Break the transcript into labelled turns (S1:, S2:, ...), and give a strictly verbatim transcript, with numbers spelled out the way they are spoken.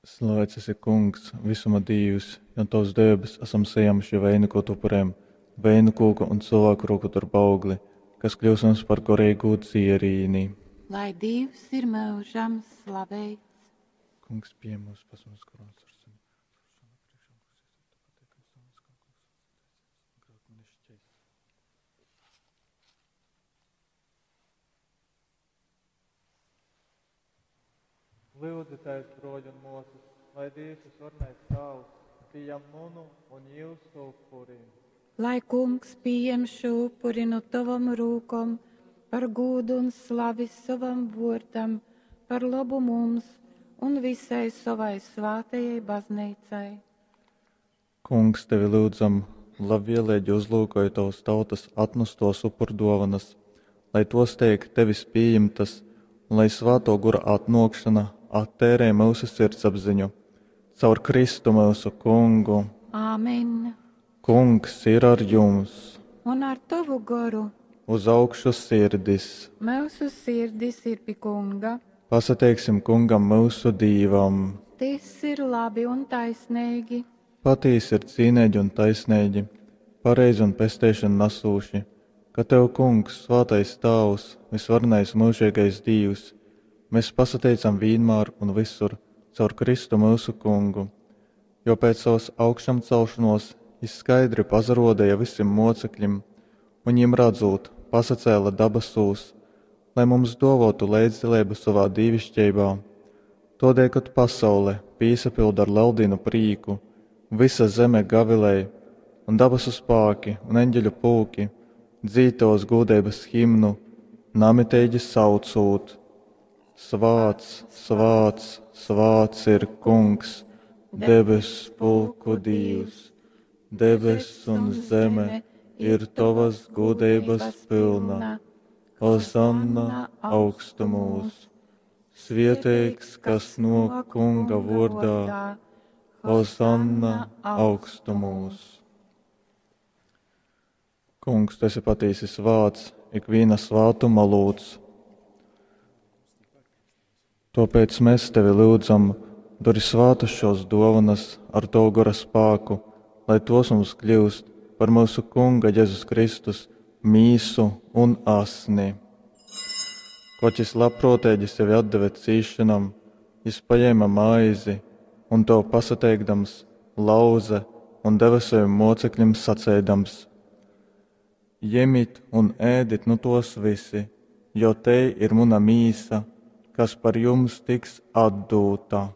S1: Slavēts esi, Kungs, visuma Dīvs, jo Tavs debes esam saņēmuši veinukotu upurēm, veinu kūka un cilvēku roku darba augli, kas kļūs mums par gorīgu dzierīni.
S2: Lai Dievs ir mūžam slaveits.
S1: Kungs, pieņem mūsu pasaules koronas ar sevi. Lūdzieties, broļi un māsas, lai Dievs visvarenais Tēvs pieņem manu un jūsu upuri.
S2: Lai kungs pieņem šo upuri no tavam rūkom par gūdu un slavi savam vārdam, par labu mums un visai savai svātajai baznīcai.
S1: Kungs, tevi lūdzam, labvēlīgi uzlūkoj tavas tautas atnestos upurdovanas, lai tos teik tevis pieņemtas un lai svēto gura atnākšana attērē mūsu sirdsapziņu. Caur Kristu mūsu kungu.
S2: Āmen.
S1: Kungs ir ar jums.
S2: Un ar tavu goru.
S1: Uz augšu sirdis.
S2: Mūsu sirdis ir pie kunga.
S1: Pasateiksim kungam mūsu dīvam.
S2: Tas ir labi un taisnīgi.
S1: Patīsi ir cīnīgi un taisnīgi, pareizi un pesteišanu nesūši, ka tev, kungs, svētais Tēvs, visvarenais mūžīgais Dievs, mēs pasateicam vienmēr un visur caur Kristu mūsu kungu, jo pēc savas augšām celšanos jis skaidri pazarodēja visiem mocekļiem, un viņiem redzot, pasacēla dabasūs, lai mums dovotu līdzdalību savā dīvišķībā. Todēļ, kad pasaule pīsapilda ar leldīnu prīku, visa zeme gavilēja, un dabasu spāki un eņģeļu pulki dzītos gūdības himnu, namitīgi saucūt: Svāts, svāts, svāts ir kungs, debes pulku Dievs, debes un zeme ir tavas gudrības pilna. Hozanna augstumos, svieteigs, kas no kunga vārdā, Hozanna augstumos. Kungs, tu esi patīsi svāts, ikviena svātuma lūdz. Tāpēc mēs tevi lūdzam, dori svātas šos dovanas ar tavu gara spēku, lai tos mums kļūst par mūsu Kunga Jēzus Kristus mīsu un asni. Koč jis labprātīgi sevi atdeva cīšanam, jis paņēma maizi un to pasateikdams lauze un deva saviem mocekļiem sacēdams: Jemit un ēdit nu tos visi, jo te ir muna mīsa, kas par jums tiks atdūta.